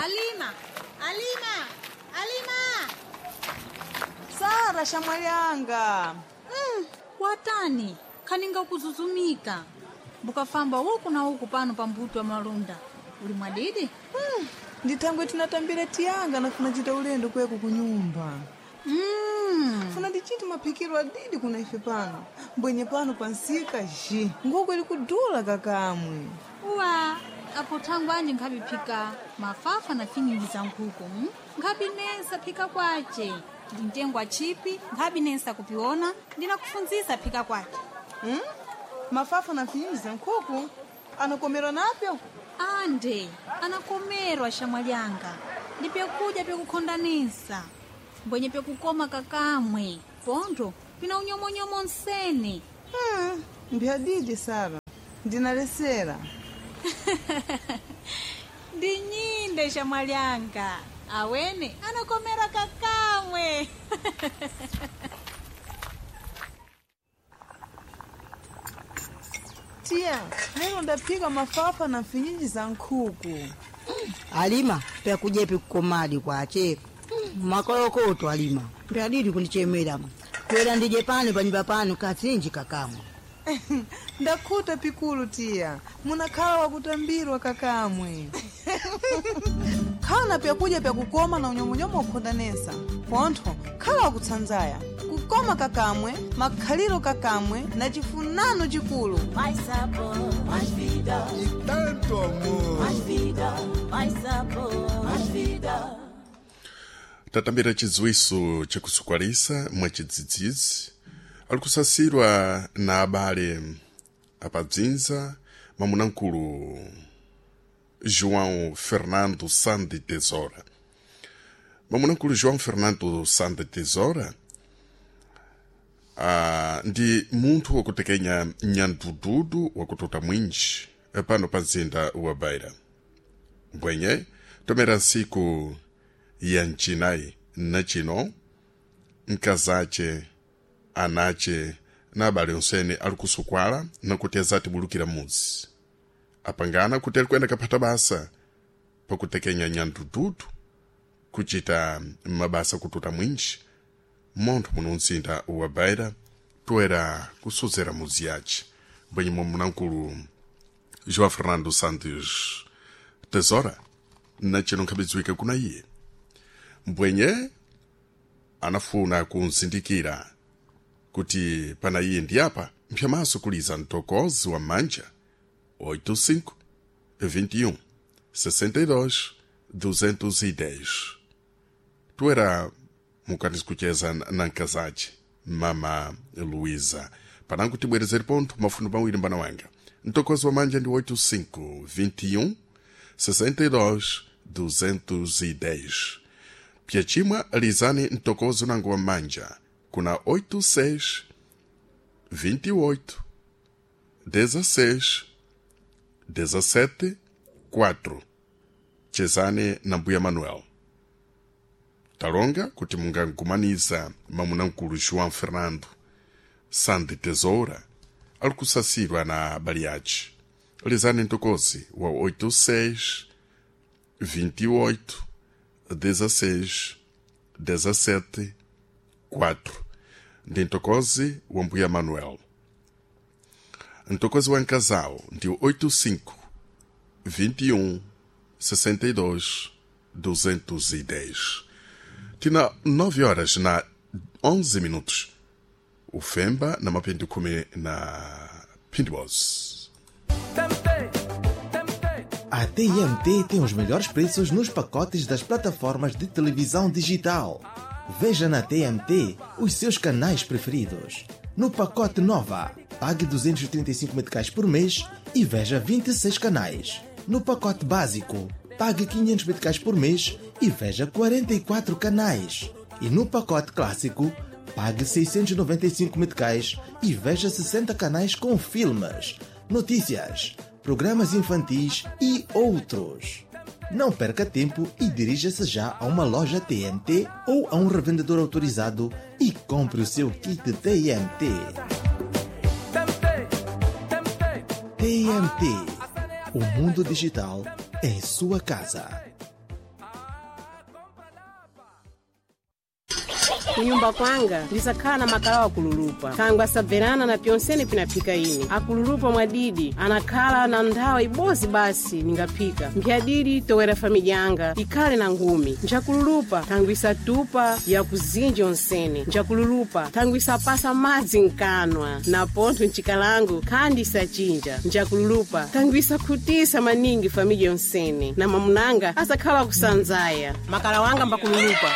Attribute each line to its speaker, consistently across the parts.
Speaker 1: Alima, Alima, Alima!
Speaker 2: Sara shamwalianga
Speaker 1: Watani kaninga kuzuzumika mbukafamba uku na uku pano pambuto wa malunda uli mwadidi?
Speaker 2: Ndithangwe tinatambira tiyanga nafuna chita ulendo kweko kunyumba. Funa ndichiti maphikiro adidi kuna ife pano mbwenye pano pansika ji nguku ili kudula kakamwe.
Speaker 1: Uwa apo thangu anje nkhapiphika mafafa na finyinji za nkhuku Nkhapinesa phika kwace ndintengwa chipi nkhapinesa kupiona ndinakufunzisa phika kwace.
Speaker 2: Mafafa na finyinji za nkhuku anakomerwa napyo?
Speaker 1: Ande anakomerwa shamwalyanga, ndi pyakudya pyakukhondanisa mbwenye pyakukoma kakamwe pontho pina unyomonyomo nsene.
Speaker 2: Mbyadidi Sara, ndinalesera.
Speaker 1: Ndi nyinde shamwalyanga, awene anakomera kakamwe.
Speaker 2: Tiya, lero ndaphika mafafa na mfinyinji za nkhuku.
Speaker 3: Alima, pyakuja pikukomadi kwache makolokoto alima pyadidi kundichemera twera ndije pano panyumba pano katsinji kakamwa.
Speaker 2: Ndakhuta pikulu tiya, munakhala wakutambirwa kakamwe. Khala na pyakudya pyakukoma na unyomonyomo ukhondanesa pontho khala wakutsanzaya kukoma kakamwe makhaliro kakamwe na chifunano chikulu.
Speaker 4: Mais sabor, mais vida.
Speaker 5: E tanto amor.
Speaker 4: Mais vida, mais sabor, mais vida.
Speaker 6: Tatambira chidziwiso chakusukwalisa mwachidzidzidzi ali kusasirwa na abale apabzinza mamunamkulu João Fernando Sande Tesoura. Mamunamkulu João Fernando Sande Tesoura ndi munthu wakutekenya nyandududu wakututa mwinji pano pa mzinda wa Beira. Mbwenye tomera ntsiku ya mcinayi nachino mkazace anace na abale onsene ali kusukwala nakuti azatibulukira mudzi apangana kuti ali kuyenda kaphata basa pakutekenya nyandududu kuchita mabasa kututa mwinji montho muno mzinda wa Beira toera kusozera mudzi yace mbwenye mwamunamkulu João Fernando Santos Tesoura nachino nkhabidziwika kuna iye mbwenye anafuna kunzindikira kuti pana iye ndi apa mphyamaso kuliza mtokozi wa manja 85 21 62 210 tuera mukati kucheza na nkazace mama Luísa panango tibwerezeri pontho mafuno pawiri mbana wanga mtokozi wa manja ndi 85 21 62 210 pyachimwa lizani mtokozi unango wa manja kuna 86 28 16 17 4 chezani na mbuya Manuel talonga kuti mungankumaniza mamunamkulu João Fernando Sande Tesoura ali kusasirwa na abale ace lizani mtokozi wa 86 28 16 17 4 ndi mtokozi wa mbuya Manuel. Mtokozi wa nkazao ndi 85 21 62 210. Tina 9 horas na 11 minutos ufemba na mapindu khumi na pindibos.
Speaker 7: A TMT tem os melhores preços nos pacotes das plataformas de televisão digital. Veja na TMT os seus canais preferidos. No pacote Nova, pague 235 meticais por mês e veja 26 canais. No pacote Básico, pague 500 meticais por mês e veja 44 canais. E no pacote Clássico, pague 695 meticais e veja 60 canais com filmes, notícias, programas infantis e outros. Não perca tempo e dirija-se já a uma loja TMT ou a um revendedor autorizado e compre o seu kit TMT. TMT, o mundo digital em sua casa.
Speaker 8: Kunyumba kwanga ndisakhala na makala akululupa thangwe asabverana na pyonsene pinaphika ine akululupa mwadidi anakhala na nthawi ibozi basi ningaphika mphyadidi towera famidya yanga ikhale na ngumi njakululupa thangwe isatupa yakuzinja onsene njakululupa thangwe isapasa madzi mkanwa na pontho mchikalango khandi isachinja njakululupa thangwe isakhutisa maningi famidya yonsene na mamunanga asakhala kusanzaya makala wanga mbakululupa.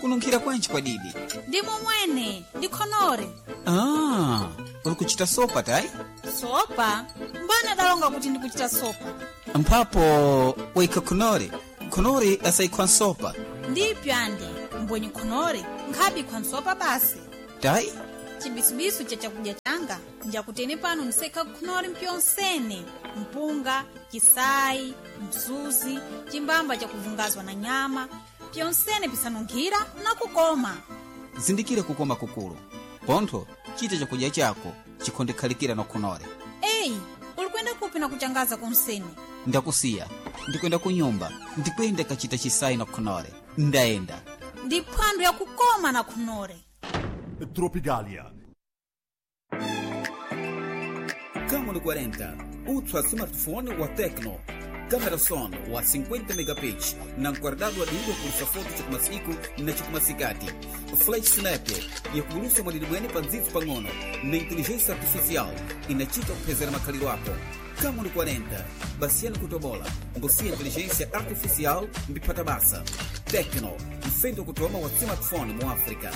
Speaker 9: Kununkhira kwanji kwa didi?
Speaker 1: Ndi momwene ndikhonore.
Speaker 9: Ah, uli kuchita sopa tayi?
Speaker 1: Sopa mbana dalonga kuti ndikuchita sopa?
Speaker 9: Mphapo waikha khonore, khonore asayikhwa nsopa.
Speaker 1: Ndipyo andi mbwenye khonore nkhabikhwa nsopa basi.
Speaker 9: Tayi.
Speaker 1: Chibisubisu cha chakudya changa njakutene pano ndisekha khonore mpyonsene mpunga, chisayi, mzuzi, chimbamba chakuvungazwa na nyama, pyonsene pisanunkhira na kukoma.
Speaker 9: Zindikire kukoma kukulu pontho chita chakudya chako chikhondekhalikira na khonore.
Speaker 1: Eyi, uli kuyenda kupi na kuchangaza konsene?
Speaker 9: Ndakusiya ndikwenda kunyumba, ndikwenda kachita chisayi na khonore. Ndayenda.
Speaker 1: Ndi phwando yakukoma na khonore.
Speaker 5: Tropicalia.
Speaker 9: Camon 40, ultra smartphone wa Tecno. Câmera son wa 50 megapixels, na guardado adido por foto chikumasiku na chikumasikati. Flash snap yakulusa mwadidibwene pa ndzitsu pang'ono na inteligência artificial inachita kuphezera makhaliro ako. Camon 40, basiyani kutobola, ngosiya inteligência artificial mbiphata basa. Tecno, mfendo kutoma wa smartphone mu África.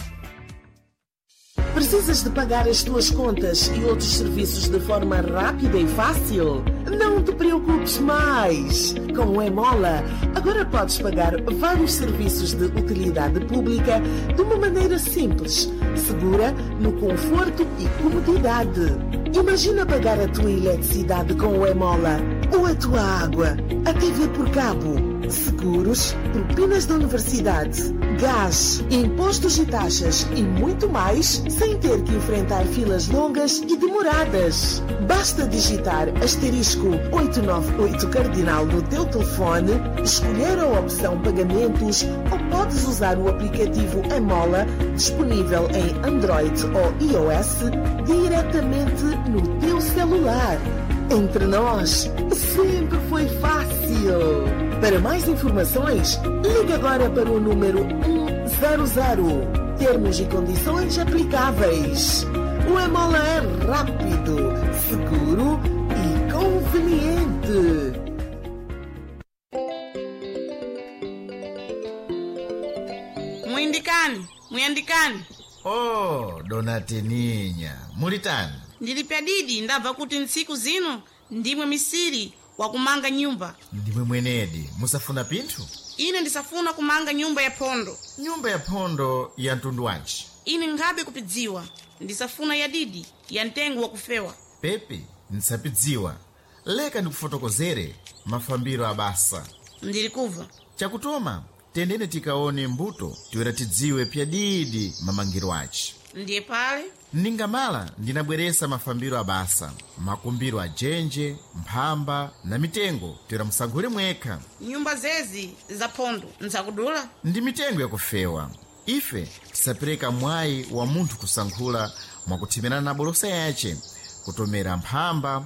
Speaker 10: Precisas de pagar as tuas contas e outros serviços de forma rápida e fácil? Não te preocupes mais! Com o Emola, agora podes pagar vários serviços de utilidade pública de uma maneira simples, segura, no conforto e comodidade. Imagina pagar a tua eletricidade com o Emola, ou a tua água, a TV por cabo, seguros, propinas da universidade, gás, impostos e taxas e muito mais, sem ter que enfrentar filas longas e demoradas. Basta digitar asterisco 898 cardinal no teu telefone, escolher a opção pagamentos ou podes usar o aplicativo Emola, disponível em Android ou iOS, diretamente no teu celular. Entre nós, sempre foi fácil. Para mais informações, ligue agora para o número 100. Termos e condições aplicáveis. O Emola é rápido, seguro e conveniente.
Speaker 11: Mwindikani, mwiyandikani.
Speaker 12: Oh, dona Teninya, mulitani?
Speaker 11: Ndili pyadidi ndabva kuti ntsiku zino ndimwe misiri wakumanga nyumba.
Speaker 12: Ndimwe mwenedi, musafuna pinthu?
Speaker 11: Ine ndisafuna kumanga nyumba ya phondo.
Speaker 12: Nyumba ya phondo ya mtundu wanji?
Speaker 11: Ine nkhabe kupidziwa, ndisafuna ya didi ya mtengo wakufewa.
Speaker 12: Pepi, nsapidziwa. Leka ndikufotokozere mafambiro abasa.
Speaker 11: Ndili kubva.
Speaker 12: Chakutoma, tendene tikaone mbuto tiwera tidziwe pyadidi mamangiro aci.
Speaker 11: Ndiye pale
Speaker 12: Ningamala ndinabweresa mafambiro abasa, makumbiro ajenje, mphamba na mitengo tiwera musankhule mwekha.
Speaker 11: Nyumba zezi za phondo nzakudula.
Speaker 12: Ndi mitengo yakufewa. Ife tisapereka mwayi wa munthu kusankhula mwakuthemerana na bolosa yace, kutomera mphamba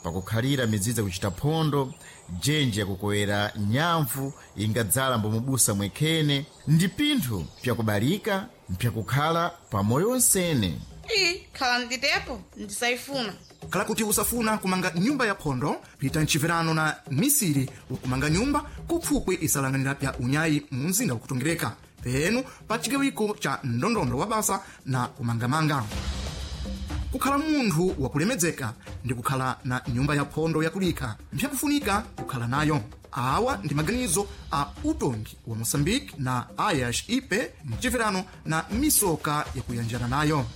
Speaker 12: pakukhalira midzidzi kuchita phondo, jenje yakukowera nyamvu ingadzala mbomubusa mwekhene, ndi pinthu pyakubalika mpyakukhala pamoyo wonsene.
Speaker 11: Iyi khala nditepo ndisayifuna.
Speaker 13: Khala kuti usafuna kumanga nyumba ya phondo, pita mchiverano na misiri wakumanga nyumba kupfupwi isalanganira pya unyayi mu mzinda wakutongereka penu pa chigawiko cha ndondondo wa basa na kumangamanga. Kukhala munthu wakulemedzeka ndi kukhala na nyumba ya phondo yakulikha mpyakufunika kukhala nayo. Awa ndi maganizo a utongi wa Moçambique na Ayas Ipe mchiverano na misoka yakuyanjana nayo.